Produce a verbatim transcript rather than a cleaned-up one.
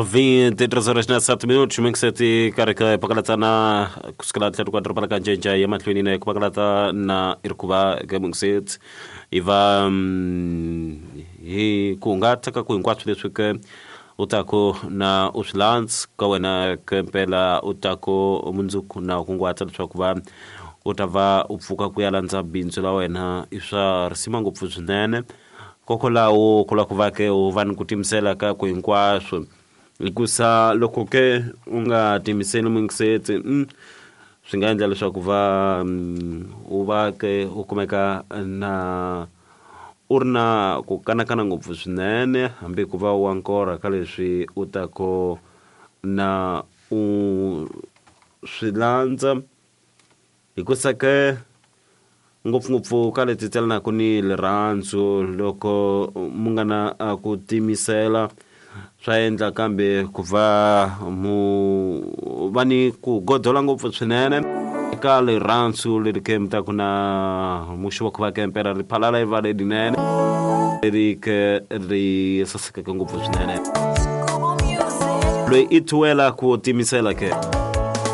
Vinte e três horas na sete minutos, mingiseti karhi ka pakalata kusukela tlhelo ka doroba la ka Njenje ya mahlweni na ku pakalata na i ri ku va ka mingiseti i va hi ku hungata ka ku hinkwaswo leswi ke u taku na u swi landza ka wena ke mpela u taku mundzuku na u kunguhata leswaku va u ta va u pfuka ku ya landza bindzu la wena i swa risima ngopfu swinene kokwalaho ku lava ku va ke u va ni ku timisela ka ku hinkwaswo hikusa loko ke u nga timiseli mingiseti mm, swi nga endla leswaku va u va ke u kumeka na u ri na ku kanakana ngopfu swinene hambi ku va wa nkorha ka leswi u tako na u swi landza hikusa ke ngopfungopfu ka leti tselanaka ni rirhandzu loko mu nga na ku timisela swa endla kambe ku va mu va ni ku godola ngopfu swinene eka rirhandzu leri ke mi ta ku na muxi wa ku va ke mpela ri phalala yi va lerinene leri ke ri sasekeke ngopfu swinene loyi i thuwela ku timisela ke.